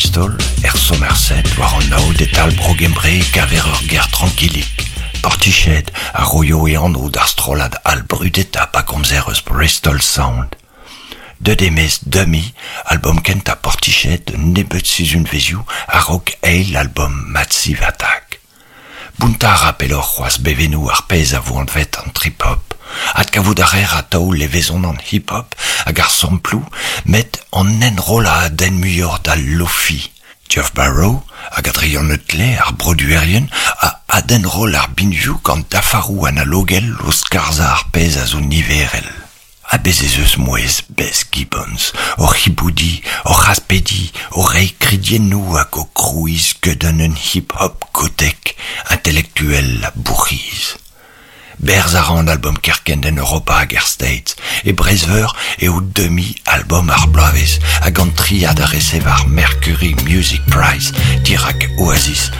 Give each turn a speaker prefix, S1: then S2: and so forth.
S1: Bristol, er Somerset, war an aod e-tal Bro-Gembre e kaver ur gêr trankilik, Portiched, a roio e anv d'ar strollad all brudetañ pa gomzer eus Bristol Sound. Deuet eo-maez Dummy, albom kentañ Portiched un nebeud sizhunvezhioù a-raok eil albom Massive Attack. Bountañ a ra pelloc'h c'hoazh bevennoù ar pezh a vo anvet an trip-hop. Adkavout a reer atav levezon an hip-hop hag ar samploù met an enrollañ a denn muioc'h d'al lo-fi. Geoff Barrow hag Adrian Utley, ar broduerien, a adenroll ar binvioù gant dafaroù analogel o skarzhañ ar pezh a zo niverel. Ha bez' ez eus mouezh Beth Gibbons oc'h hiboudiñ, oc'h aspediñ, o reiñ kridiennoù hag o krouiñ skeudenn un hip-hop gotek, intelektuel ha bourc'hiz. Berzh a ra an albom kerkent en Europa hag er States. E Breizh-Veur eo demi albom ar bloavezh hag an triad a resev ar Mercury Music Prize dirak Oasis